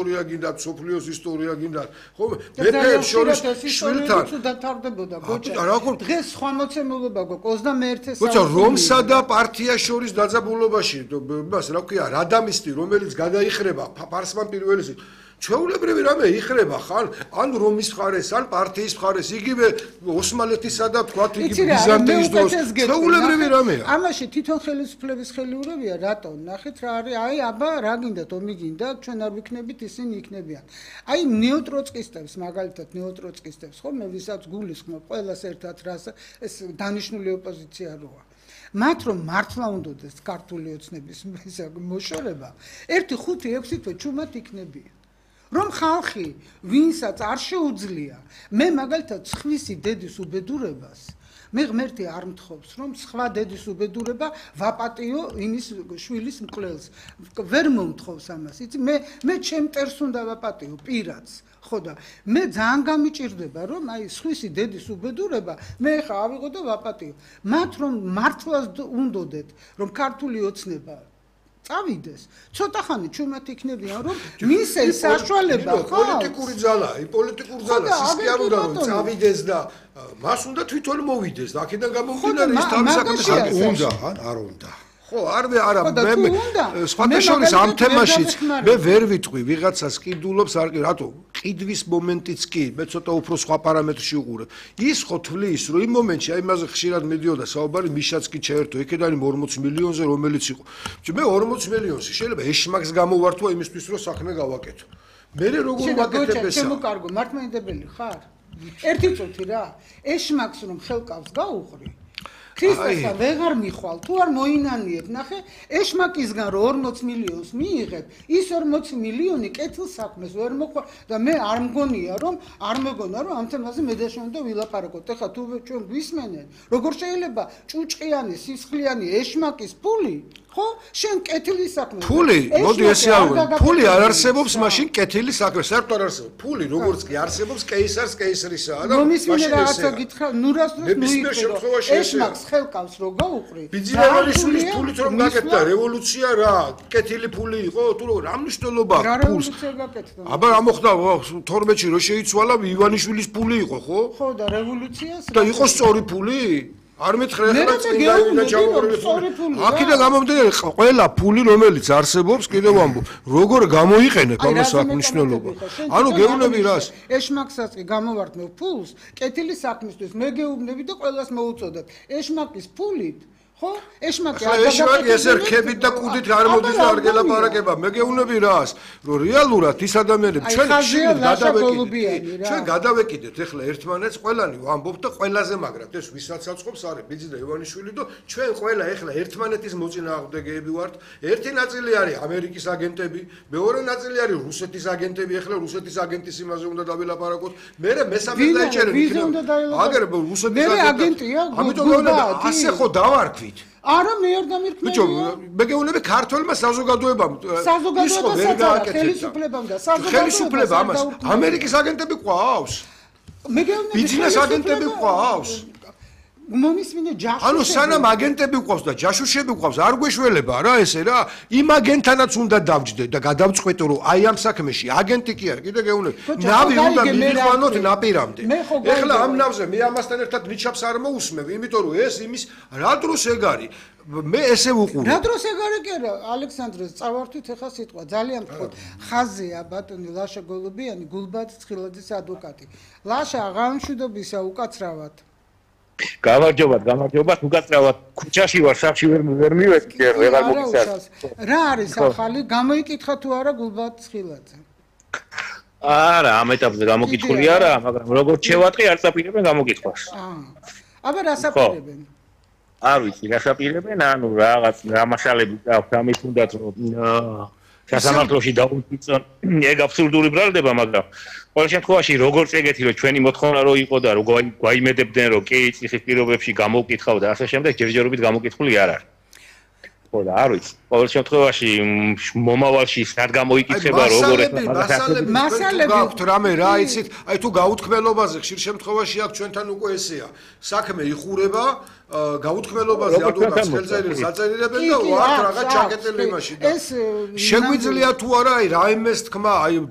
ისტორია გინდათ, სოფლიოს ისტორია გინდათ. ხო, მეფეებს შორის შვილთან დათავდებოდა გოჭა. დღეს სხვა მოცემულობა გვაქვს 21 გოჭა რომსა და პარტიას შორის დაძაბულობაში, იმას რა ქვია, რადამისტი, რომელიც გადაიხრება ფარსმან პირველი ჩვეულებრივი რამე იხრება ხან ან რომის მხარეს ან პარტიის მხარეს იგივე ოსმალეთისა და თქვათ იგივე ბიზანტიის დროს ჩვეულებრივი რამეა ამაში თვითონ ხელისუფლების ხელიურებია რატო ნახეთ რა არის აი აბა რა გინდათ ომი გინდათ ჩვენ არ ვიქნებით ისინი იქნებიან აი ნეოტროცკისტებს მაგალითად ნეოტროცკისტებს ხო მე ვისაც გულისხმობ ყველას ერთად რას ეს დანიშნული ოპოზიცია როა მათ რომ მართლა უნდადეს ქართული ოცნების მოშორება 1-5-6 თვე ჩუმად იქნებიან რომ ხალხი ვინსაც არ შეუძლია მე მაგალითად სხვისი დედის უბედურებას მე ღმერთი არ მთხოვს რომ სხვა დედის უბედურება ვაპატიო იმის შვილის მკვლელს ვერ მომთხოვს ამას იცი მე ჩემ მტერს უნდა ვაპატიო პირადს ხო და მე ძალიან გამიჭირდება რომ აი სხვისი დედის უბედურება მე ხა ავიღო და ვაპატიო მათ რომ მართლაც უნდოდეთ რომ ქართული ოცნება წავიდეს ცოტა ხანი ჩუმად იქნებიან რომ მისე საშუალება ხო პოლიტიკური ძალაა პოლიტიკური ძალა სისტემა არ უნდა რომ წავიდეს და მას უნდა თვითონ მოვიდეს და აქედან გამომდინარე ის თავის საქმეს უნდა არ უნდა ხო არა მე სხვათა შორის ამ თემაშიც მე ვერ ვიტყვი ვიღაცას ყიდულობს არ კი რატო ყიდვის მომენტიც კი მე ცოტა უფრო სხვა პარამეტრში უყურებ ის ხო თვლის რომ იმ მომენტში აი იმაზე ხშირად მიდიოდა საუბარი მიშაც კი ჩაერთო იქედან 40 მილიონზე რომელიც იყო მე 40 მილიონში შეიძლება ეშმაკს გამოვართვა იმისთვის რომ საქმე გავაკეთო მე როგორ ვაკეთებ ესა შემოკარგო მართლმადიდებელი ხარ ერთი წუთი რა ეშმაკს რომ ხელკავს გაუყრი ქრისტესა ვეღარ მიხვალ თუ არ მოინანიებ ნახე ეშმაკისგან რომ 40 მილიონს მიიღებ ის 40 მილიონი კეთილ საქმეს ვერ მოხვალ და მე არ მგონია რომ არ მეგონა რომ ამ თემაზე მე და შენ და ვილაპარაკოთ ეხლა თუ ჩვენ გვისმენენ როგორ შეიძლება ჭუჭყიანი სისხლიანი ეშმაკის ფული ხო შენ კეთილი საქმე ფული მოდი ესე ავიღო ფული არ არსებობს მაშინ კეთილი საქმე საერთოდ არ არსებობს ფული როგორც კი არსებობს კეისარს კეისრისაა და მაშინ რაღაცა გითხრა ნურას დროს მოიქცეო ეშმაკს ხელკავს რო გაუყრი ბიძინევალიშვილის ფულით რომ გაკეთდა რევოლუცია რა კეთილი ფული იყო თუ რა მნიშვნელობა ფულს აბა რა მოხდა 12-ში რო შეიცვალა ივანიშვილის ფული იყო ხო და რევოლუციას და იყო სწორი ფული არ მეთხრე ახლა წინდა ჩავუყურებ აქედან გამომდინარე ყველა ფული რომელიც არსებობს კიდევ ამბობ როგორ გამოიყენებ ამას აქ მნიშვნელობა ანუ გეუბნები რას ეშმაკსაც კი გამოვართმევ ფულს კეთილი საქმისთვის მე გეუბნები და ყველას მოუწოდებ ეშმაკის ფულით ხო ეშმაკი ეშმაკი ესე რქებით და კუდით არ მოდის და არ გელაპარაკება მე გეუბნები რას რომ რეალურად ის ადამიანები ჩვენ გადავეკიდეთ ეხლა ერთმანეთს ყველანი ვამბობთ და ყველაზე მაგრად ეს ვისაც აწყობს არის ბიძი და ივანიშვილი და ჩვენ ყველა ეხლა ერთმანეთის მოწინააღმდეგეები ვართ ერთი ნაწილი არის ამერიკის აგენტები მეორე ნაწილი არის რუსეთის აგენტები ეხლა რუსეთის აგენტის იმაზე უნდა დავილაპარაკოთ მე მესამე დაიჭერეთ აგერ რუსეთის აგენტია ამიტომ ასე ხო დავარქვით არა მე არ დამირქმევია ბიჭო მე გეუბნები ქართველმა საზოგადოებამ ხელისუფლებამ და ხელისუფლება ამას ამერიკის აგენტები ყავს მე გეუბნები ბიზნეს აგენტები ყავს მომისმინე ჯაშუშები ანუ სანამ აგენტები ყავს და ჯაშუშები ყავს არ გვეშველება რა ესე რა იმ აგენტთანაც უნდა დავჯდე და გადავწყვეტო რომ აი ამ საქმეში აგენტი კი არა კიდე გეუბნები ნავი უნდა მივიყვანოთ ნაპირამდე ეხლა ამ ნავზე მე ამასთან ერთად ნიჩაბს არ მოусმევ იმიტომ რომ ეს იმის რა დროს ეგ არის მე ესე ვუყურე რა დროს ეგ არის კი არა ალექსანდრეს წავართვით ეხლა სიტყვა ძალიან მთხოთ ხაზია ბატონი ლაშა გოლუბიანი გულბად ცხილაძის ადვოკატი ლაშა აღამშვიდობისა უკაცრავად გამარჯობათ უკაცრავად ქუჩაში ვარ საფში ვერ მივედი ვეღარ მოგიცარ რა არის ახალი გამოიკითხა თუ არა გულბად ცხილაძე არა ამ ეტაპზე გამოკითხული არა მაგრამ როგორც შევატყი არ წაპირებენ გამოკითხვას აბა რა საპირებენ არ ვიცი რა საპირებენ ანუ რაღაც რამაშალები აქვს ამის თუნდაც რომ სასამართლოში დაუწიწონ ეგ აბსურდული ბრალდება მაგრამ ყოველ შემთხვევაში როგორც ეგეთი რომ ჩვენი მოთხოვნა რო იყო და რო გვაიმედებდნენ რომ კი ციხის პირობებში გამოვკითხავ და ასე შემდეგ ჯერჯერობით გამოკითხული არ არის ხო და არ ვიცი ყოველ შემთხვევაში მომავალში სად გამოიკითხება როგორ მასალები გაქვთ რამე რა იცით აი თუ გაუთქმელობაზე ხშირ შემთხვევაში აქ ჩვენთან უკვე ესეა საქმე იხურება გაუთქმელობაზე ადვოკატს ხელწერილს აწერილებენ და ვართ რაღაც ჩაკეტილი იმაში და შეგვიძლია თუ არა აი რაიმეს თქმა აი